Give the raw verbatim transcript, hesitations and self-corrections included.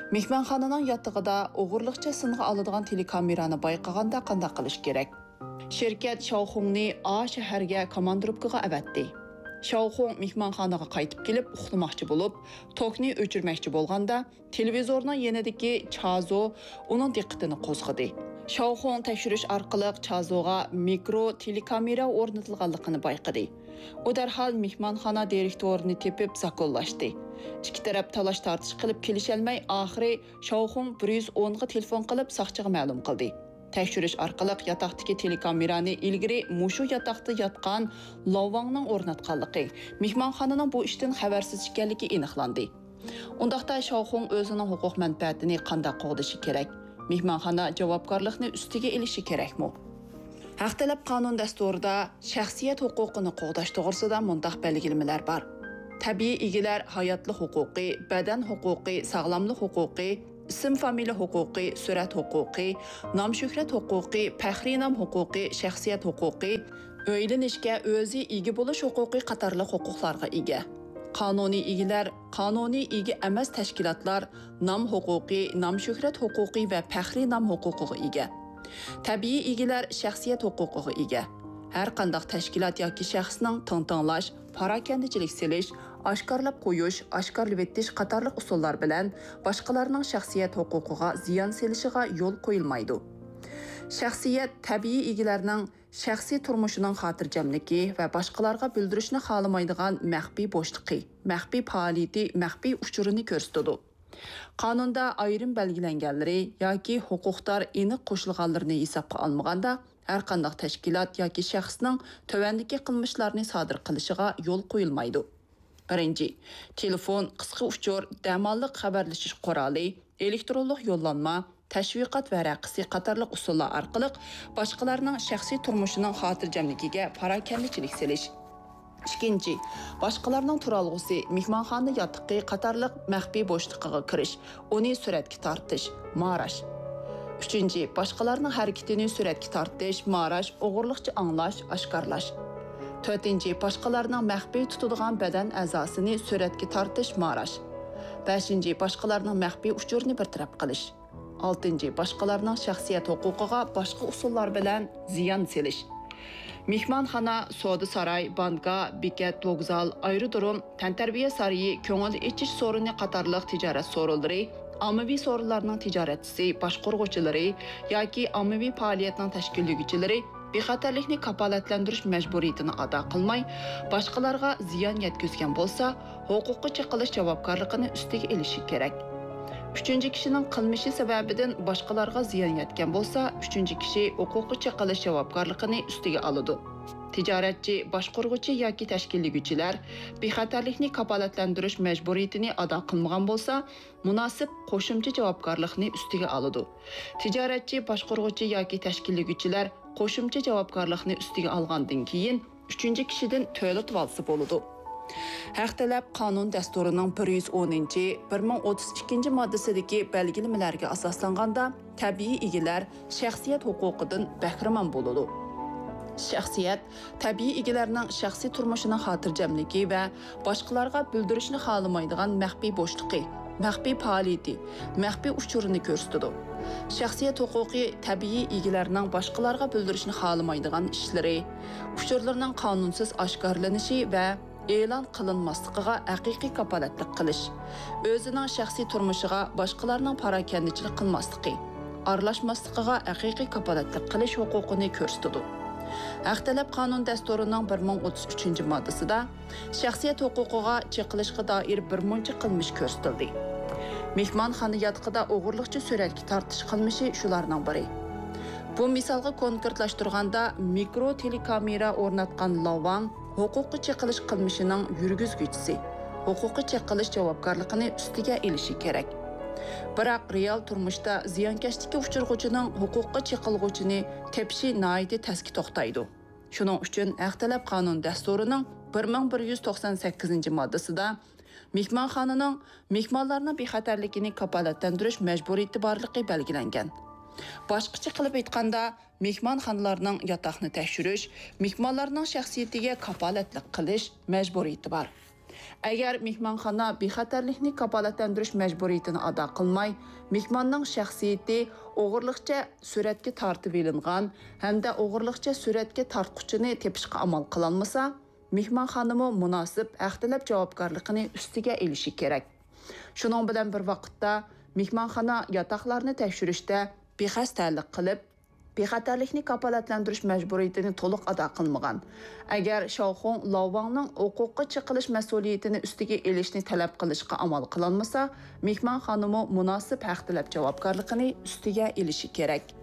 مېھمانخانىنىڭ ياتىقىدا ئوغرىلىقچە سىنغا ئالىدىغان تېلېكامېرانى بايقىغاندا قانداق قىلىش كېرەك؟ شىركەت شاۋخۇڭنى ئا شەھەرگە كوماندىروپكىغا ئەۋەتتى. شاۋخۇڭ مېھمانخانىغا قايتىپ كېلىپ ئۇخلىماقچى بولۇپ، توكنى ئۆچۈرمەكچى بولغاندا، تېلېۋىزورنىڭ يېنىدىكى چازو ئۇنىڭ دىققىتىنى قوزغىدى. شاۋخۇڭ تەكشۈرۈش ئارقىلىق چازوغا مىكرو تېلېكامېرا ئورنىتىلغانلىقىنى بايقىدى. ئۇ دەرھال مېھمانخانا دىرېكتورىنى تېپىپ زاكونلاشتى. ئىككى تەرەپ تالاش-تارتىش قىلىپ كېلىشەلمەي، ئاخىرى شاۋخۇڭ بىر يۈز ئونغا تېلېفون قىلىپ ساقچىغا مەلۇم قىلدى. تەكشۈرۈش ئارقىلىق ياتاقتىكى تېلېكامېرانى ئىلگىرى مۇشۇ ياتاقتا ياتقان لاۋاڭنىڭ ئورناتقانلىقى، مېھمانخانىنىڭ بۇ ئىشتىن خەۋەرسىز ئىكەنلىكى ئېنىقلاندى. ئۇنداقتا شاۋخۇڭ ئۆزىنىڭ ھوقۇق مەنپەئەتىنى قانداق قوغدىشى كېرەك؟ مېھمانخانا جاۋابكارلىقنى ئۈستىگە ئېلىشى كېرەكمۇ؟ ھەق تەلەپ قانۇن دەستۇرىدا شەخسىيەت ھوقۇقىنى قوغداش توغرىسىدا مۇنداق بەلگىلىمىلەر بار: تەبىئىي ئىگىلەر ھاياتلىق ھوقۇقى، بەدەن ھوقۇقى، ساغلاملىق ھوقۇقى، ئىسىم-فامىلە ھوقۇقى، سۈرەت ھوقۇقى، نام-شۆھرەت ھوقۇقى، پەخرىي نام ھوقۇقى، شەخسىيەت ھوقۇقى، ئۆيلىنىشكە ئۆزى ئىگە بولۇش ھوقۇقى قاتارلىق ھوقۇقلارغا ئىگە. قانۇنىي ئىگىلەر، قانۇنىي ئىگە ئەمەس تەشكىلاتلار نام ھوقۇقى، نام-شۆھرەت ھوقۇقى ۋە پەخرىي نام ھوقۇقىغا ئىگە. تەبىئىي ئىگىلەر شەخسىيەت ھوقۇقىغا ئىگە. ھەر قانداق تەشكىلات ياكى شەخسنىڭ تىڭتىڭلاش، پاراكەندىچىلىك سېلىش، ئاشكارىلاپ قويۇش، ئاشكارىلىۋېتىش قاتارلىق ئۇسۇللار بىلەن باشقىلارنىڭ شەخسىيەت ھوقۇقىغا زىيان سېلىشىغا يول قويۇلمايدۇ. شەخسىيەت تەبىئىي ئىگىلەرنىڭ شەخسىي تۇرمۇشىنىڭ خاتىرجەملىكى ۋە باشقىلارغا بىلدۈرۈشنى خالىمايدىغان مەخپىي بوشلۇقى، مەخپىي پائالىيىتى، مەخپىي ئۇچۇرىنى كۆرسىتىدۇ. قانۇندا ئايرىم بەلگىلەنگەنلىرى ياكى ھوقۇقدار ئېنىق قوشۇلغانلىرىنى ھېسابقا ئالمىغاندا، ھەرقانداق تەشكىلات ياكى شەخسنىڭ تۆۋەندىكى قىلمىشلارنى سادىر قىلىشىغا يول قويۇلمايدۇ. بىرىنچى، تېلېفون، قىسقا ئۇچۇر، دەماللىق خەۋەرلىشىش قورالى، ئېلېكترونلۇق يوللانما، تەشۋىقات ۋەرەقىسى قاتارلىق ئۇسۇللار ئارقىلىق باشقىلارنىڭ شەخسىي تۇرمۇشىنىڭ خاتىرجەملىكىگە پاراكەندىچىلىك سېلىش. ئىككىنچى، باشقىلارنىڭ تۇرالغۇسى، مېھمانخانا ياتىقى قاتارلىق مەخپىي بوشلۇقىغا كىرىش، ئۇنى سۈرەتكە تارتىش، ماراش. ئۈچىنچى، باشقىلارنىڭ ھەرىكىتىنى سۈرەتكە تارتىش، ماراش، ئوغرىلىقچە ئاڭلاش، ئاشكارىلاش. تۆتىنچى، باشقىلارنىڭ مەخپىي تۇتىدىغان بەدەن ئەزاسىنى سۈرەتكە تارتىش، ماراش. بەشىنچى، باشقىلارنىڭ مەخپىي ئۇچۇرىنى بىر تەرەپ قىلىش. ئالتىنچى، باشقىلارنىڭ شەخسىيەت ھوقۇقىغا باشقا ئۇسۇللار بىلەن زىيان سېلىش. مېھمانخانا، سودا ساراي، بانكا، بېكەت، ۋوگزال، ئايرودروم، تەنتەربىيە سارىيى، كۆڭۈل ئېچىش سورۇنى قاتارلىق تىجارەت سورۇنلىرى، ئاممىۋى سورۇنلارنىڭ تىجارەتچىسى، باشقۇرغۇچىلىرى ياكى ئاممىۋى پائالىيەتنىڭ تەشكىللىگۈچىلىرى بىخەتەرلىكنى كاپالەتلەندۈرۈش مەجبۇرىيىتىنى ئادا قىلماي، باشقىلارغا زىيان يەتكۈزگەن بولسا، ھوقۇققا چېقىلىش جاۋابكارلىقىنى ئۈستىگە ئېلىشى كېرەك. ئۈچىنچى كىشىنىڭ قىلمىشى سەۋەبىدىن باشقىلارغا زىيان يەتكەن بولسا، ئۈچىنچى كىشى ھوقۇققا چېقىلىش جاۋابكارلىقىنى ئۈستىگە ئالىدۇ. تىجارەتچى، باشقۇرغۇچى ياكى تەشكىللىگۈچىلەر بىخەتەرلىكنى كاپالەتلەندۈرۈش مەجبۇرىيىتىنى ئادا قىلمىغان بولسا، مۇناسىپ قوشۇمچە جاۋابكارلىقنى ئۈستىگە ئالىدۇ. تىجارەتچى، باشقۇرغۇچى ياكى تەشكىللىگۈچىلەر قوشۇمچە جاۋابكارلىقنى ئۈستىگە ئالغاندىن كېيىن، ئۈچىنچى كىشىدىن تۆلىتىۋالسا بولىدۇ. ھەق تەلەپ قانۇن دەستۇرىنىڭ بىر يۈز ئونىنچى، بىر مىڭ ئوتتۇز ئىككىنچى ماددىسىدىكى بەلگىلىمىلەرگە ئاساسلانغاندا، تەبىئىي ئىگىلەر شەخسىيەت ھوقۇقىدىن بەھرىمەن بولىدۇ. شەخسىيەت تەبىئىي ئىگىلەرنىڭ شەخسىي تۇرمۇشىنىڭ خاتىرجەملىكى ۋە باشقىلارغا بىلدۈرۈشنى خالىمايدىغان مەخپىي بوشلۇقى، مەخپىي پائالىيىتى، مەخپىي ئۇچۇرىنى كۆرسىتىدۇ. شەخسىيەت ھوقۇقى تەبىئىي ئىگىلەرنىڭ باشقىلارغا بىلدۈرۈشنى خالىمايدىغان ئىشلىرى، ئۇچۇرلىرىنىڭ قانۇنسىز ئاشكارىلىنىشى ۋە ئېلان قىلىنماسلىقىغا ھەقىقىي كاپالەتلىك قىلىش، ئۆزىنىڭ شەخسىي تۇرمۇشىغا باشقىلارنىڭ پاراكەندىچىلىك قىلماسلىقى، ئارىلاشماسلىقىغا ھەقىقىي كاپالەتلىك قىلىش ھوقۇقىنى كۆرسىتىدۇ. ھەق تەلەپ قانۇن دەستۇرىنىڭ بىر مىڭ ئوتتۇز ئۈچىنچى ماددىسىدا شەخسىيەت ھوقۇقىغا چېقىلىشقا دائىر بىر مۇنچە قىلمىش كۆرسىتىلدى. مېھمانخانا ياتىقىدا ئوغرىلىقچە سۈرەتكە تارتىش قىلمىشى شۇلارنىڭ بىرى. بۇ مىسالغا كونكرېتلاشتۇرغاندا، مىكرو تېلېكامېرا ئورناتقان لاۋاڭ ھوقۇققا چېقىلىش قىلمىشىنىڭ يۈرگۈزگۈچىسى ھوقۇققا چېقىلىش جاۋابكارلىقىنى ئۈستىگە ئېلىشى كېرەك. بىراق، رېئال تۇرمۇشتا زىيانكەشلىككە ئۇچرىغۇچىنىڭ ھوقۇققا چېقىلغۇچىنى تېپىشى ناھايىتى تەسكە توختايدۇ. شۇنىڭ ئۈچۈن ھەق تەلەپ قانۇن دەستۇرىنىڭ بىر مىڭ بىر يۈز توقسان سەككىزىنچى ماددىسىدا مېھمانخانىنىڭ مېھمانلارنىڭ بىخەتەرلىكىنى كاپالەتلەندۈرۈش مەجبۇرىيىتى بارلىقى بەلگىلەنگەن. باشقىچە قىلىپ ئېيتقاندا، مېھمانخانىلارنىڭ ياتاقنى تەكشۈرۈش، مېھمانلارنىڭ شەخسىيىتىگە كاپالەتلىك قىلىش مەجبۇرىيىتى بار. ئەگەر مېھمانخانا بىخەتەرلىكنى كاپالەتلەندۈرۈش مەجبۇرىيىتىنى ئادا قىلماي، مېھماننىڭ شەخسىيىتى ئوغرىلىقچە سۈرەتكە تارتىۋېلىنغان ھەمدە ئوغرىلىقچە سۈرەتكە تارتقۇچىنى تېپىشقا ئامال قىلالمىسا، مېھمانخانىمۇ مۇناسىپ ھەق تەلەپ جاۋابكارلىقىنى ئۈستىگە ئېلىشى كېرەك. شۇنىڭ بىلەن بىر ۋاقىتتا، مېھمانخانا ياتاقلارنى تەكشۈرۈشتە بىخەستەلىك قىلىپ، بىخەتەرلىكنى كاپالەتلەندۈرۈش مەجبۇرىيىتىنى تولۇق ئادا قىلمىغان. ئەگەر شاۋخۇڭ لاۋۋاڭنىڭ ھوقۇققا چېقىلىش مەسئۇلىيىتىنى ئۈستىگە ئېلىشنى تەلەپ قىلىشقا ئامال قىلالمىسا، مېھمانخانىمۇ مۇناسىپ ھەق تەلەپ جاۋابكارلىقىنى ئۈستىگە ئېلىشى كېرەك.